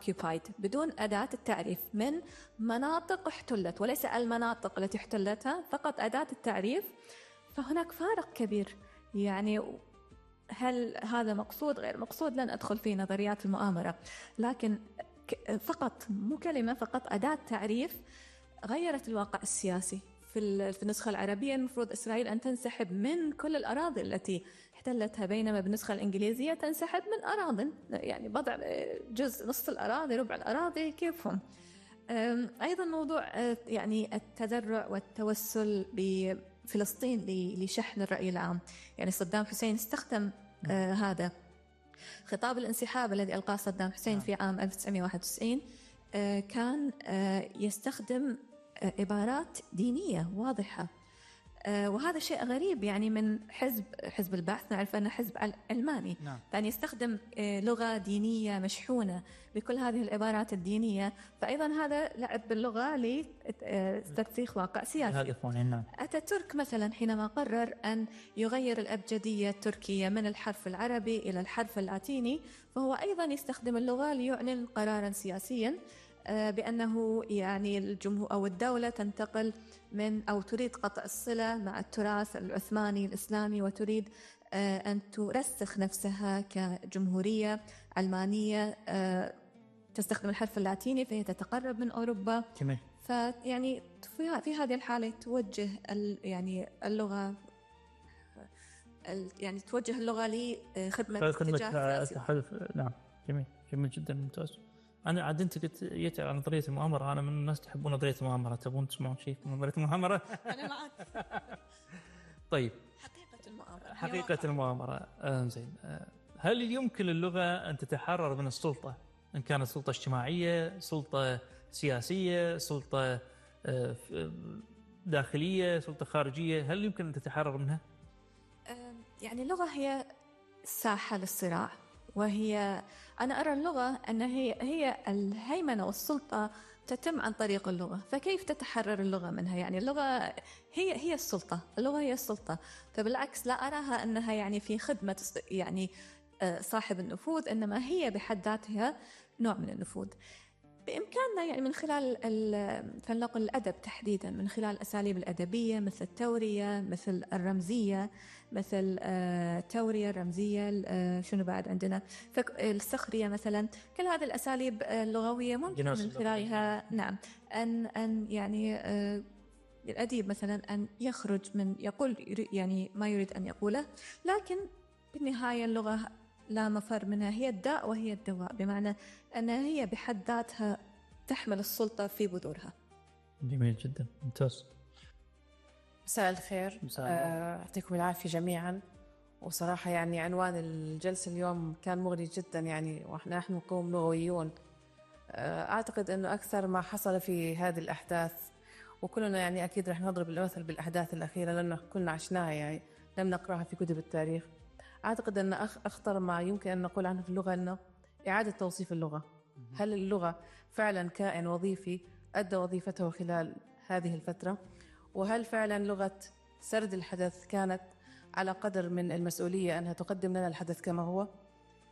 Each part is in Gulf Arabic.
occupied بدون أداة التعريف من مناطق احتلت، وليس المناطق التي احتلتها، فقط أداة التعريف. فهناك فارق كبير. يعني هل هذا مقصود غير مقصود؟ لن أدخل في نظريات المؤامرة، لكن فقط مو كلمة، فقط أداة تعريف غيرت الواقع السياسي. في النسخة العربية المفروض إسرائيل أن تنسحب من كل الأراضي التي احتلتها، بينما بالنسخة الإنجليزية تنسحب من أراضٍ، يعني بضع جزء، نصف الأراضي، ربع الأراضي، كيفهم. أيضا موضوع يعني التذرع والتوسل بفلسطين لشحن الرأي العام. يعني صدام حسين استخدم هذا خطاب الانسحاب الذي ألقاه صدام حسين في عام 1991، كان يستخدم عبارات دينية واضحة، وهذا شيء غريب يعني من حزب البعث. نعرف أنه حزب علماني، فأن يستخدم لغة دينية مشحونة بكل هذه العبارات الدينية، فأيضا هذا لعب باللغة لترسيخ واقع سياسي. أتاتورك مثلا حينما قرر أن يغير الأبجدية التركية من الحرف العربي إلى الحرف اللاتيني، فهو أيضا يستخدم اللغة ليعلن قرارا سياسيا بأنه يعني الجمهور أو الدولة تنتقل من أو تريد قطع الصلة مع التراث العثماني الإسلامي، وتريد أن ترسخ نفسها كجمهورية علمانية تستخدم الحرف اللاتيني، فهي تتقرب من أوروبا. فيعني في هذه الحالة توجه يعني اللغة يعني توجه اللغة لخدمة اتجاه سياسي. نعم، جميل جدا، ممتاز. أنا عاد أنت قلت يتعب عن نظرية المؤامرة، أنا من الناس تحبون نظرية المؤامرة، تبون تسمعون شيء من نظرية المؤامرة؟ أنا معك. طيب، حقيقة المؤامرة. زين. هل يمكن للغة أن تتحرر من السلطة، إن كانت سلطة اجتماعية، سلطة سياسية، سلطة داخلية، سلطة خارجية؟ هل يمكن أن تتحرر منها؟ يعني اللغة هي ساحة للصراع، وهي أنا أرى اللغة أن هي الهيمنة والسلطة تتم عن طريق اللغة. فكيف تتحرر اللغة منها؟ يعني اللغة هي السلطة، اللغة هي السلطة. فبالعكس لا أراها أنها يعني في خدمة يعني صاحب النفوذ، إنما هي بحد ذاتها نوع من النفوذ. بإمكاننا يعني من خلال فلنقل الأدب تحديدا، من خلال الأساليب الأدبية مثل التورية، مثل الرمزية، مثل التورية الرمزية، شنو بعد عندنا السخرية مثلا. كل هذه الأساليب اللغوية ممكن من خلالها نعم أن يعني الأديب مثلا أن يخرج من يقول يعني ما يريد أن يقوله، لكن بالنهاية اللغة لا مفر منها، هي الداء وهي الدواء، بمعنى أنها هي بحد ذاتها تحمل السلطة في بذورها. جميل جدا، ممتاز. مساء الخير، يعطيكم العافية جميعا. وصراحة يعني عنوان الجلسة اليوم كان مغري جدا، يعني ونحن نقوم لغويون. أعتقد أنه أكثر ما حصل في هذه الأحداث، وكلنا يعني أكيد رح نضرب المثل بالأحداث الأخيرة لأنه كلنا عشناها، يعني لم نقرأها في كتب التاريخ. أعتقد أن أخطر ما يمكن أن نقول عنه في اللغة أنه إعادة توصيف اللغة. هل اللغة فعلا كائن وظيفي أدى وظيفته خلال هذه الفترة؟ وهل فعلا لغة سرد الحدث كانت على قدر من المسؤولية أنها تقدم لنا الحدث كما هو؟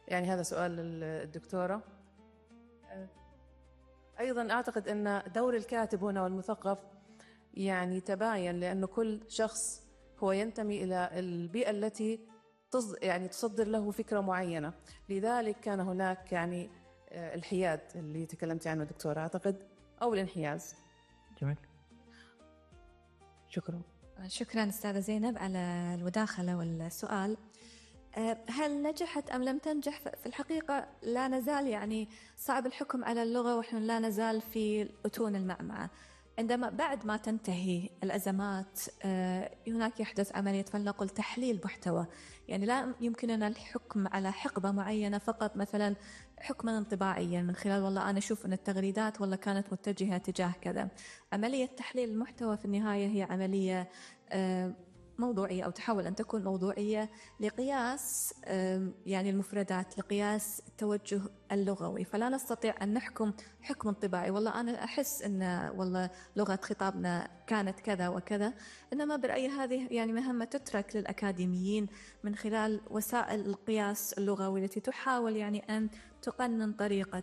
يعني هذا سؤال الدكتورة. أيضا أعتقد أن دور الكاتب هنا والمثقف يعني تباين، لأنه كل شخص هو ينتمي إلى البيئة التي يعني تصدر له فكرة معينة، لذلك كان هناك يعني الحياد اللي تكلمت عنه دكتورة أعتقد، أو الانحياز. جميل، شكرا أستاذة زينب على المداخلة والسؤال. هل نجحت أم لم تنجح؟ في الحقيقة لا نزال يعني صعب الحكم على اللغة ونحن لا نزال في أتون المعمعة. عندما بعد ما تنتهي الأزمات هناك يحدث عملية فلنقل تحليل محتوى. يعني لا يمكننا الحكم على حقبة معينة فقط، مثلا حكما انطباعيا من خلال والله أنا أشوف أن التغريدات والله كانت متجهة تجاه كذا. عملية تحليل المحتوى في النهاية هي عملية موضوعية أو تحاول أن تكون موضوعية لقياس يعني المفردات، لقياس التوجه اللغوي. فلا نستطيع أن نحكم حكم انطباعي والله أنا أحس أن والله لغة خطابنا كانت كذا وكذا، إنما برأيي هذه يعني مهمة تترك للأكاديميين من خلال وسائل القياس اللغوي التي تحاول يعني أن تقنن طريقة